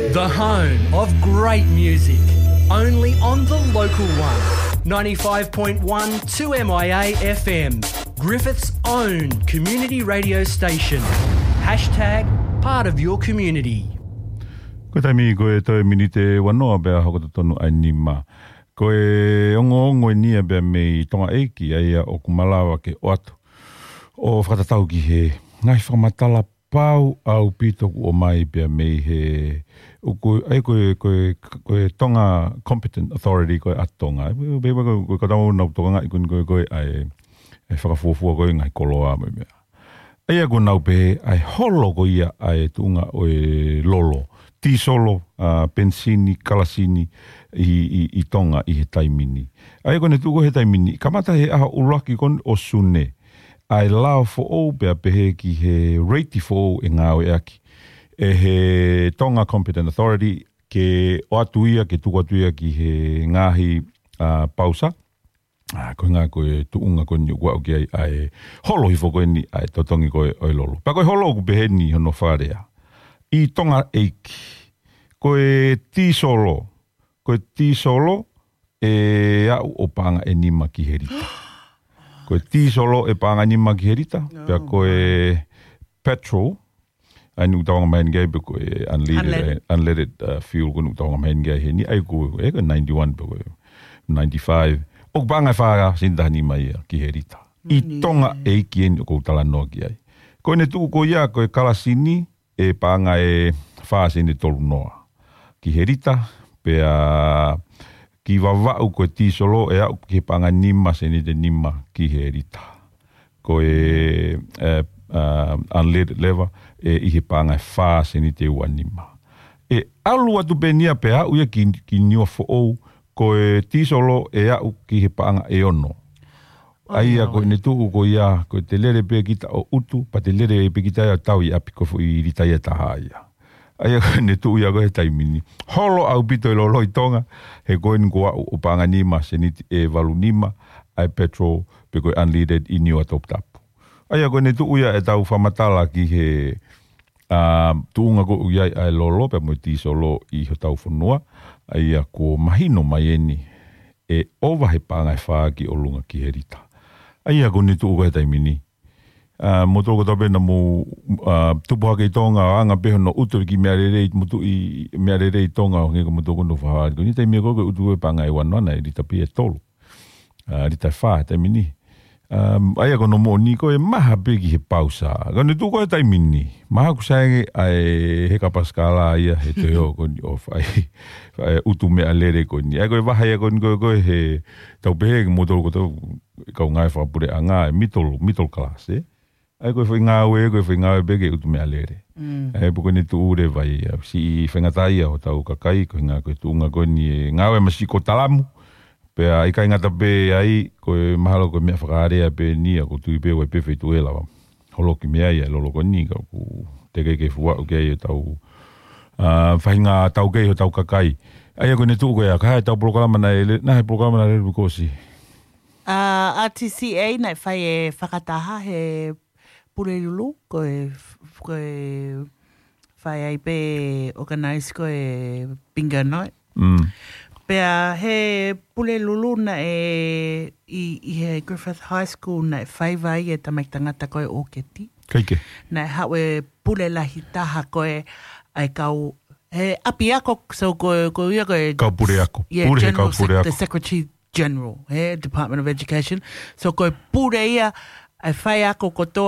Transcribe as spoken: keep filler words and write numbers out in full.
The home of great music, only on the local one. Ninety-five point one two M I A F M, Griffith's own community radio station. Hashtag part of your community. Ko e taimi ko e toe miniti ua noa pea hoko totonu ai nima. Ko e ongoongo eni ia pea mei Tonga ʻEiki, ʻa ia ʻoku malava ke ʻoatu ʻo fakatatau ki he ngaahi fakamatala pau ʻaupito kuo ʻomai pea mei he ʻoku, ʻa ia ko e, ko e, ko e Tonga Competent Authority ko e ʻa Tonga. Pea, pea, pea ko e, ko e kau tau nau tokangaʻi ko eni ko e, ko e ʻa e, ʻa e fakafuofua ko e ngaahi koloa mo e meʻa. ʻA ia ko ʻenau pehē ʻa e holo ko ia ʻa e tuʻunga ʻo e lolo, tīsolo, ʻa, penisini, kalasini ʻi, ʻi, ʻi Tonga ʻi he taimi ni. ʻA ia ko ʻene tuʻu ko ē he taimi ni, kamata he ʻaho ʻuluaki ko eni ʻo Sune, ʻa e lao foʻou pea pehē ki he rate foʻou ʻe ngāueʻaki ʻe he Tonga Competent Authority ke ʻoatu ia, ke tuku atu ia ki he ngaahi, ʻa, pausa. ʻA, ko e ngaahi ko e tuʻunga ko eni ʻoku aʻu ki ai ʻa e holo hifo ko eni ʻa e totongi ko ē ʻo e lolo. Pea ko e holo ʻoku pehē ni hono fakalea. ʻI Tonga ʻEiki, ko e tīsolo, ko e tīsolo ʻe aʻu ʻo paʻanga ʻe nima ki he lita. Ko e tīsolo ʻe paʻanga ʻe nima ki he lita, pea ko e petrol, ʻa ia ʻoku tau anga maheni ki ai pe ko e unleaded, unleaded, uh, fuel ko eni ʻoku tau anga maheni ki ai heni, ʻa ia ko e, ʻe ko e ninety-one pe ko e ninety-five. ʻOku paʻanga ʻe fā sēniti taha nima ia ki he lita. ʻI Tonga ʻEiki eni ʻoku ou talanoa ki ai. Ko ʻene tuʻu ko ia ko e kalasini ʻe paʻanga ʻe fā sēniti tolu noa ki he lita, pea ki Vavaʻu ko e tīsolo ʻe aʻu ki he paʻanga nima sēniti nima ki he lita. Ko e, ʻe, ʻa, unleaded leva, ʻe ʻi he paʻanga ʻe fā sēniti ua nima. ʻE ʻalu atu pē eni ia pea aʻu ia ki, ki Niuafoʻou, ko e tīsolo ʻe aʻu ki he paʻanga ʻe ono. ʻA ia ko ʻene tuʻu ko ia, ko e te lele pē kita ʻo ʻutu, pea te lele pē kita ia ʻo tau ʻi ʻapi, ko e foʻi lita ia ʻe taha ia. ʻA ia ko ʻene tuʻu ia ko ē he taimi ni. Holo ʻaupito e lolo ʻi Tonga, he ko eni kuo aʻu ʻo paʻanga nima sēniti ʻe valu nima ʻa e petrol pe ko e unleaded ʻi Niua Toputapu. ʻA ia ko ʻene tuʻu ia ʻetau fakamatala ki he, ʻa, tuʻunga ko ē ʻoku ʻi ai ʻa e lolo pea mo e tīsolo ʻi hotau fonua. ʻA ia kuo mahino mai eni ʻe ʻova he paʻanga ʻe fā ki ʻolunga ki he lita. ʻA ia ko ʻene tuʻu ko ē he taimi ni. ʻA, moutolu kotoa pē naʻa mou, ʻa, tupu hake ʻi Tonga, ʻo anga pē hono ʻutu ki he meʻalele, moutolu ʻi, meʻalele ʻi Tonga, ʻo hangē ko moutolu ko ʻenau fakahā ko eni, taimi ko ē ko e ʻutu e paʻanga ʻe ua noa naʻe lita pē ʻe tolu. ʻA, lita ʻe fā he taimi ni. ʻA, ʻa ia ko hono moʻoni ko e maha pē ki he pausa. Ko ʻene tuʻu ko ē he taimi ni. Maha ʻoku sai ange ʻa e heka pasikala ia he toe ō ko eni ʻo fai, fai ʻutu meʻalele ko eni. ʻA ia ko e vahe ia ko eni ko ē, ko ē he tau pehē ki moutolu ko ʻetau kau ngāue fakapuleʻanga, ʻa e middle, middle class, ē? ʻA ia ko e foʻi ngāue, ko e foʻi ngāue pē ke ʻutu meʻalele. ʻA ia pea ko ʻene tuʻu leva ia, siʻi faingataʻaʻia hotau kakai, ko e ʻuhinga ko e tuʻunga ko eni ʻe ngāue masiʻi ko talamu, pea ʻikai ngata pē ai, ko e mahalo ko e meʻa fakalea pē eni ia, ʻoku ou tui pē ʻoku ʻi ai pē feituʻu ʻe lava holoki mei ai ʻa e lolo ko eni, ka ʻoku teʻeki ke fuaʻu ki ai ʻetau, ʻa, faʻahinga taukei hotau kakai. ʻA ia ko ʻene tuʻu ko ia, ko e hā ʻetau polokalama naʻe le-, naʻe polokalama naʻe lele kuo ʻosi. ʻA, R T C A naʻe fai e fakataha he Pulelulu, ko e, ko e fai ai pē organize ko e bingo night. Pea he Pulelulu naʻe ʻi, ʻi he Griffith High School naʻe faiva ai e tamaiki tangata ko e ʻOketi. Naʻe haʻu e pule lahi taha ko e ʻa e kau, he ʻapiako, so ko, ko ia ko e kau puleako. Yeah, pule he general kau sec-, puleako. The Secretary General, he Department of Education. So ko e pule ia, ʻa e faiako kotoa